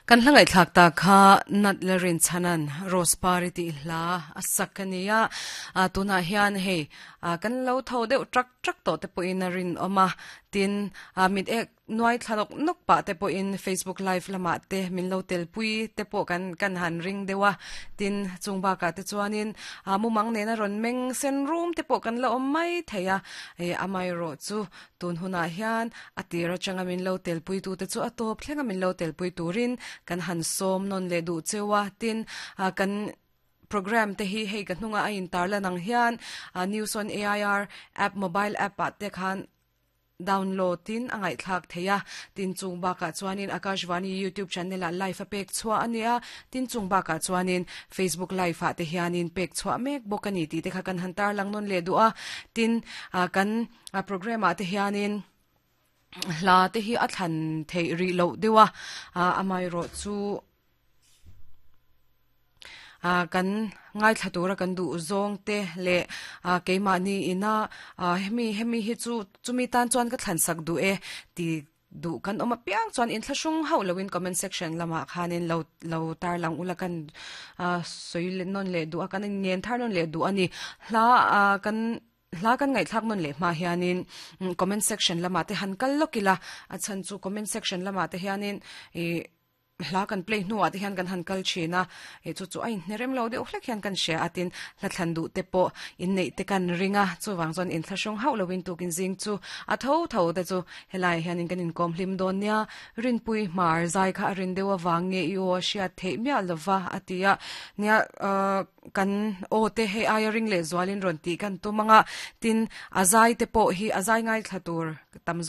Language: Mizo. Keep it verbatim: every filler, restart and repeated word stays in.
Kan hla ngaihthlak ta kha nat la rin chanan Rose Pari tih hla a sak ania. A tunah hian hei kan lo tho deuh trak trak tawh te pawhin a rin awm a. Tin mit ek nuai thla nawk nawk pah te pawhin Facebook live lamah te min lo tel pui te pawh kan kan han ring deuh a. Tin chung bakah te chuanin mumang nena rawn meng sen rum te pawh kan la awm mai thei a. Amaherawh chu tun hunah hian a tir atanga min lo tel pui tu te chu a tawp thlenga min lo tel pui turin kan han sawm nawn leh duh cheu a. Tin kan program te hi hei ka hnunga a intar lan ang hian News on A I R app, mobile app ah te khan download in a ngaihthlak thei a. Tin chung bakah chuanin Akashvani YouTube channel ah live a pek chhuah ania. Tin chung bakah chuanin Facebook live ah te hianin pek chhuah mek bawk ani tih te kha kan han tar lang nawn leh duh a. Tin kan program ah te hianin hla te hi a thlan theih rih loh deuh a. Amaherawh chu kan ngaithla tura kan duh zawng te leh keimahni ina hemi hemi hi chu chumi tan chuan ka thlan sak duh e ti duh kan awm apiang chuan inthlahrung hauh loin comment section lamah khanin lo lo tar lang ula, kan sawi nawn leh duh a, kan ngen thar nawn leh duh ani. Hla kan hla kan ngaihthlak nawn leh hma hianin comment section lamah te han kal lawk ila. A chhan chu comment section lamah te hianin ih hla kan play hnuah te hian kan han kal thin a, e chu chu a inhnerem lo deuh hlek hian kan hria a. Tin hla thlan duh te pawh inneih te kan ring a, chuwang chuan inthlahrung hauh loin tukin zing chu a tho tho te chu helai hianin kan inkawm hlim dawn nia. Rinpui Hmar zai kha a rin deuh awang nge i aw a hriat theih miah lova a ti a. Nia, kan aw te hei aia ring leh zualin rawn tih kan tum anga. Tin a zai te pawh hi a zai ngai thla tur tam zawk.